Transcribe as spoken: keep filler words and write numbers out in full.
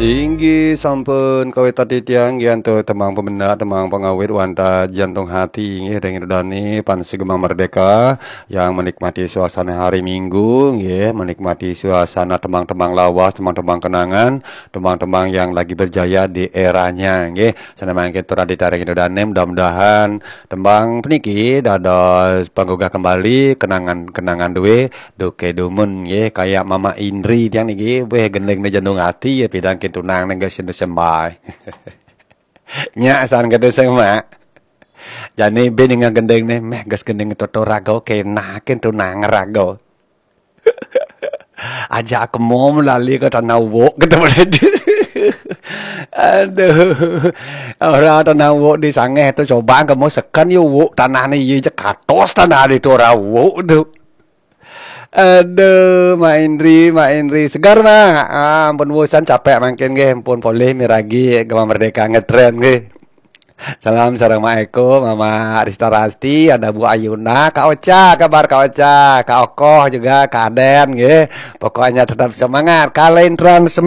Inggih sampun kawit titiang nggih antuk tembang pamendak, tembang pangawit wantah jantung hati nggih ring Ida Dane pan sugeng Merdeka yang menikmati suasana hari Minggu nggih, menikmati suasana tembang-tembang lawas, tembang-tembang kenangan, tembang-tembang yang lagi berjaya di eranya nggih. Sané mangkin tur adhita ring Ida Dane, mudah-mudahan tembang puniki dados panggugah kembali kenangan-kenangan duwe duke dumun nggih, kaya Mama Indri tiang niki, weh gendingne jantung ati ya pidang kin tunang nang gas sembah. Nyak san kata sing mak. Jane ben dengan gendingne meh gas gending toto raga kenakin tunang raga. Aja aku mau melali ke tanah wok gitu. Aduh. Ora tanah wok di sangeh tu coba kamu sekan yo wok tanah ni ye je katos tanah di tu ora wok tu. Aduh, Mak Indri, Mak Indri. Segar, Mak. Ah, ampun bosan capek mangkin nggih, ampun polih miragi Gema Merdeka ngetren nggih. Salam sareng Mak Eko, Mama Rista Rasti, ada Bu Ayuna, Kak Ocha, kabar Kak Ocha, Kak Okoh juga, Kak Aden nggih. Pokoknya tetap semangat. Kalian transmisi